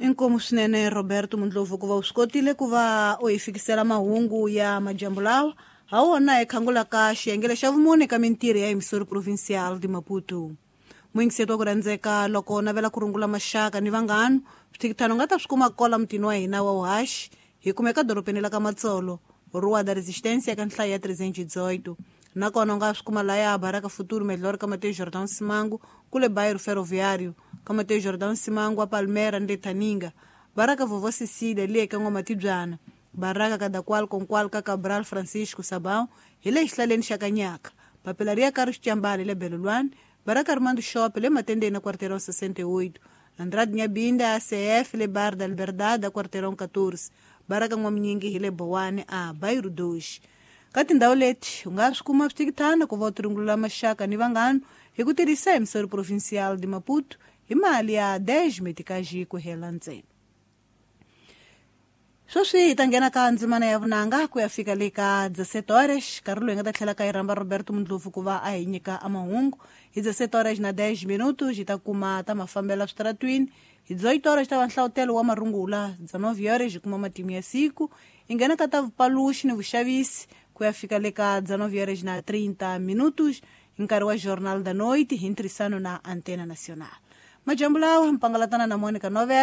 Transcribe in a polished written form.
Inkomu swinene Roberto Mundlovu ku va u swi kotile ku va u hi fikisela mahungu ya madyambu lawa ha wona hi khangulaka xiyenge xa vumune ka mintirho ya Emissora Provincial de Maputo. Muyingiseti wa ku rhandzeka, loko navela ku rungula maxaka ni vanghana, swithikithano nga ta swi kuma kola mutini wa hina wa uhaxi. Hi kumeka dorobeni la ka Matsolo, Rua da Resistência, ka nhlayo ya 318. Nakona u nga swi kuma laya Baraka Futuro Melhor ka Mateus Jordão Simango, kule Bairro Ferroviário, ka Mateus Jordão Simango a Palmera ni le Thaninga, Baraka Vovó Cecília le ka N'wamatibyana, Baraka Kadakwal Konkwal ka Cabral Francisco Sabão hi le xihlaleni xa Kanyaka, Papelaria Carlos Chambale le Belolwane, Baraka Armando Shop le Matendeni na Quarteirão 68, Andrade Nyabinda ACF le Bar da Liberdade a Quarteirão 14, Baraka N'waminyingi hi le Bowane a Bairro 2. Ka tindhawu leti u nga swi kuma swithikithana ku va u tirungulula maxaka ni vanghana hi ku tirhisa Emissora Provincial de Maputo hi mali ya 10 meticage ku hela ntsena. Sweswi hi ta nghena ka ndzimana ya vunanga ku ya fika le ka 17 horas, nkarhi lowu hi nga ta tlhela ka yi rhamba Roberto Mundlovu ku va a hi nyika a mahungu. Hi 17 horas na 10 minutos hi ta kuma ta mafambelo switaratwini. Hi 18 horas ta va nhlawutelo wa marungula, 19 horas hi kuma matimu ya siku. Hi nghena ka ta vupaluxi ni vuxavisi ku ya fika le ka 19 horas na 30 minutos hi nkarhi wa Jornal da Noite hi ntirhisano na Antena Nacional. Majambu lawa mpangalatana na Monica Novel.